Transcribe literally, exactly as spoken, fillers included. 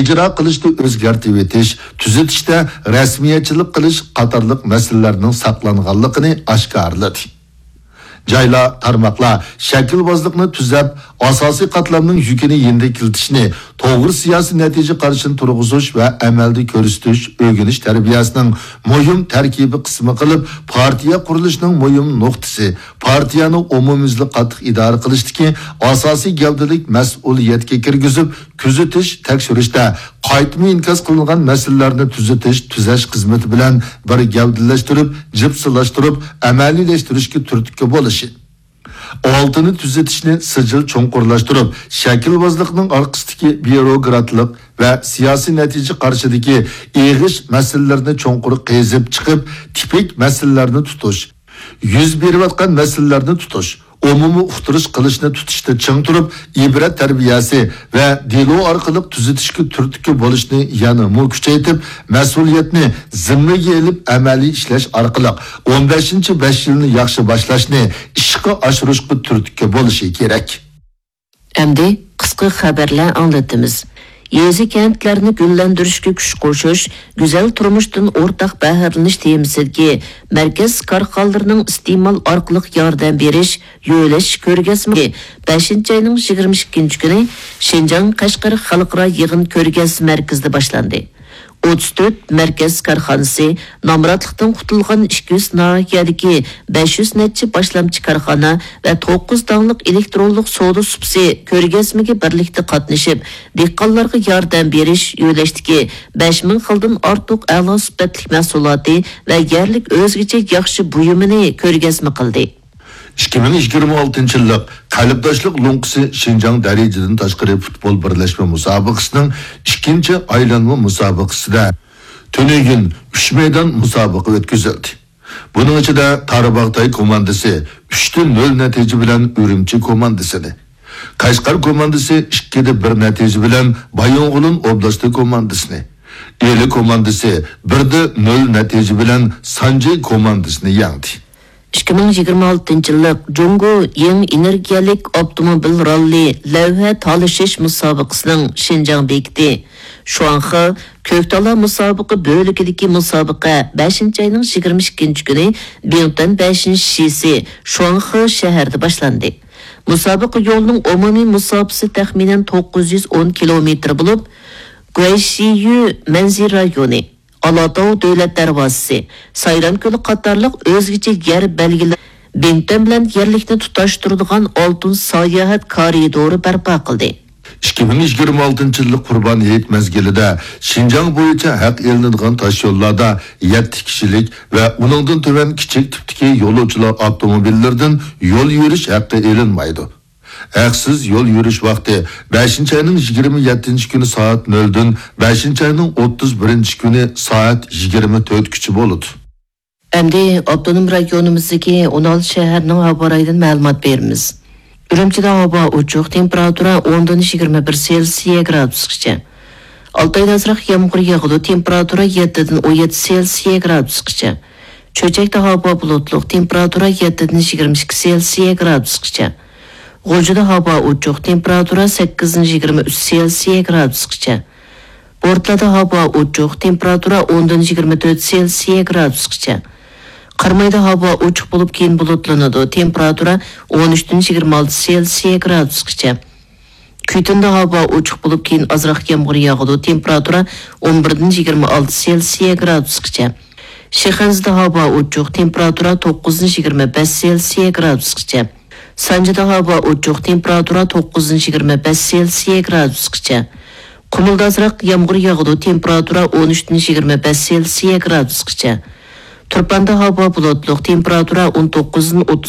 ئىجرا قىلىشتا ئۆزگەرتىۋېتىش، تۈزىتىشتە رەسمىيەتچىلىك قىلىش قاتارلىق مەسىلىلەرنىڭ ساقلانغانلىقىنى ئاشكارىلىدى. جايلار، تارماقلار شەكىلۋازلىقنى تۈزەپ، ئاساسىي قاتلامنىڭ يۈكىنى يېنىكلىتىشنى، توغرا سىياسىي نەتىجە قارىشىنى تۇرغۇزۇش ۋە ئەمەلدە كۆرسىتىش ئۆگىنىش تەربىيەسىنىڭ مۇھىم تەركىبىي قىسمى قىلىپ، پارتىيە قۇرۇلۇشىنىڭ مۇھىم نۇقتىسى، پارتىيەنى ئومۇميۈزلۈك قاتتىق ئىدارە قىلىشتىكى ئاساسىي گەۋدىلىك مەسئۇلىيەتكە كىرگۈزۈپ، كۆزىتىش، تەكشۈرۈشتە قايتما ئىنكاس قىلىنغان مەسىلىلەرنى تۈزىتىش، تۈزەش خىزمىتى بىلەن بىر گەۋدىلەشتۈرۈپ، جىپسىلاشتۇرۇپ، ئەمەلىيلەشتۈرۈشكە تۈرتكە بولۇشى. ئالتىنى تۈزىتىشنى سىجىل چوڭقۇرلاشتۇرۇپ، شەكىلۋازلىقنىڭ ئارقىسىدىكى بيۇروكراتلىق ۋە سىياسىي نەتىجە قارىشىدىكى ئېغىش مەسىلىلىرىنى چوڭقۇر قېزىپ چىقىپ، تىپىك مەسىلىلەرنى تۇتۇش، يۈز بېرىۋاتقان مەسىلىلەرنى تۇتۇش، ئومۇمىي ئۇقتۇرۇش قىلىشنى تۇتۇشتا چىڭ تۇرۇپ، ئىبرەت تەربىيەسى ۋە دېلو ئارقىلىق تۈزىتىشكە تۈرتكە بولۇشنى يەنىمۇ كۈچەيتىپ، مەسئۇلىيەتنى زىممىگە ئېلىپ ئەمەلىي ئىشلەش ئارقىلىق ئون بەشىنچى بەش يىلنى ياخشى باشلاشنى ئىشقا ئاشۇرۇشقا تۈرتكە بولۇشى كېرەك. ئەمدى قىسقا خەۋەرلەر ئاڭلىتىمىز. يېزا، كەنتلەرنى گۈللەندۈرۈشكە كۈچ قوشۇش، گۈزەل تۇرمۇشتىن ئورتاق بەھرىلىنىش تېمىسىدىكى مەركەز كارخانىلىرىنىڭ ئىستېمال ئارقىلىق ياردەم بېرىش، يۆلەش كۆرگەزمىسى بەشىنچى ئاينىڭ يىگىرمە ئىككىنچى كۈنى شىنجاڭ قەشقەر خەلقئارا يىغىن كۆرگەزمە مەركىزىدە باشلاندى. ئوتتۇز تۆت مەركەز كارخانىسى، نامراتلىقتىن قۇتۇلغان ئىككى يۈز ناھىيەدىكى بەش يۈز نەچچە باشلامچى كارخانا ۋە توققۇز داڭلىق ئېلېكترونلۇق سودا سۇپىسى كۆرگەزمىگە بىرلىكتە قاتنىشىپ، دېھقانلارغا ياردەم بېرىش يۆلەشتىكى بەش مىڭ خىلدىن ئارتۇق ئەلا سۈپەتلىك مەھسۇلاتى ۋە يەرلىك ئۆزگىچە ياخشى بۇيۇمىنى كۆرگەزمە قىلدى. ئىككى مىڭ يىگىرمە ئالتىنچى يىللىق قەلبداشلىق لوڭقىسى شىنجاڭ دەرىجىدىن تاشقىرى پۇتبول بىرلەشمە مۇسابىقىسىنىڭ ئىككىنچى ئايلانما مۇسابىقىسىدە تۈنۈگۈن ئۈچ مەيدان مۇسابىقە ئۆتكۈزۈلدى. بۇنىڭ ئىچىدە تارباغتاي كوماندىسى ئۈچتە نۆل نەتىجە بىلەن ئۈرۈمچى كوماندىسىنى، قەشقەر كوماندىسى ئىككىدە بىر نەتىجە بىلەن بايىنغولىن ئوبلاستى كوماندىسىنى، ئىلى كوماندىسى بىردە نۆل نەتىجە بىلەن سانجى كوماندىسىنى يەڭدى. ئىككى مىڭ يىگىرمە ئالتىنچى يىللىق جۇڭگو يېڭى ئېنېرگىيەلىك ئاپتوموبىل راللى لەۋھە تالىشىش مۇسابىقىسىنىڭ شىنجاڭ بېكىتى شۇاڭخې كۆكتالا مۇسابىقە بۆلىكىدىكى مۇسابىقە بەشىنچى ئاينىڭ يىگىرمە ئىككىنچى كۈنى بىڭتۈەن بەشىنچى شىسى شۇاڭخې شەھىرىدە باشلاندى. مۇسابىقە يولىنىڭ ئومۇمىي مۇساپىسى تەخمىنەن توققۇز يۈز ئون كىلومېتىر بولۇپ، گۇەيشىيۈ مەنزىرە رايونى، ئالاتاۋ دۆلەت دەرۋازىسى، سايرام كۆلى قاتارلىق ئۆزگىچە يەر بەلگىلەر بىڭتۈەن بىلەن يەرلىكنى تۇتاشتۇرىدىغان ئالتۇن ساياھەت كارىدورى بەرپا قىلدى. ئىككى مىڭ يىگىرمە ئالتىنچى يىللىق قۇربان ھېيت مەزگىلىدە شىنجاڭ بويىچە ھەق ئېلىنىدىغان تاشيوللاردا يەتتە كىشىلىك ۋە ئۇنىڭدىن تۆۋەن كىچىك تىپتىكى يولۇچىلار ئاپتوموبىللىرىدىن يول يۈرۈش ھەققى ئېلىنمايدۇ. ھەقسىز يول يۈرۈش ۋاقتى بەشىنچى ئاينىڭ يىگىرمە يەتتىنچى كۈنى سائەت نۆلدىن بەشىنچى ئاينىڭ ئوتتۇز بىرىنچى كۈنى سائەت يىگىرمە تۆتكىچە بولىدۇ. ئەمدى ئاپتونوم رايونىمىزدىكى ئون ئالتە شەھەرنىڭ ھاۋا رايىدىن مەلۇمات بېرىمىز. ئۈرۈمچىدە ھاۋا ئوچۇق، تېمپېراتۇرا ئوندىن يىگىرمە بىر سېلسىيە گرادۇسقىچە. ئالتايدا ئازراق يامغۇر ياغىدۇ، تېمپېراتۇرا يەتتىدىن ئون يەتتە سېلسىيە گرادۇسقىچە. چۆچەكتە ھاۋا بۇلۇتلۇق، تېمپېراتۇرا يەتتىدىن يىگىرمە ئىككى سېلسىيە گرادۇسقىچە. غۇلجىدا ھاۋا ئوچۇق، تېمپېراتۇرا سەككىزدىن يىگىرمە ئۈچ سېلسىيە گرادۇسقىچە. بورتالادا ھاۋا ئوچۇق، تېمپېراتۇرا ئوندىن يىگىرمە تۆت سېلسىيە گرادۇسقىچە. قارامايدا ھاۋا ئوچۇق بولۇپ، كېيىن بۇلۇتلىنىدۇ، تېمپېراتۇرا ئون ئۈچتىن يىگىرمە ئالتە سېلسىيە گرادۇسقىچە. كۈيتۇندا ھاۋا ئوچۇق بولۇپ، كېيىن ئازراق يامغۇر ياغىدۇ، تېمپېراتۇرا ئون بىردىن يىگىرمە ئالتە سېلسىيە گرادۇسقىچە. شىخەنزىدە ھاۋا ئوچۇق، تېمپېراتۇرا توققۇزدىن يىگىرمە بەش سېلسىيە گرادۇسقىچە. سانجىدا ھاۋا ئوچۇق، تېمپېراتۇرا توققۇزدىن يىگىرمە بەش سېلسىيە گرادۇسقىچە. قۇمۇلدا ئازراق يامغۇر ياغىدۇ، تېمپېراتۇرا ئون ئۈچتىن يىگىرمە بەش سېلسىيە گرادۇسقىچە. تۇرپاندا ھاۋا بۇلۇتلۇق، تېمپېراتۇرا ئون توققۇزدىن ئوتتۇز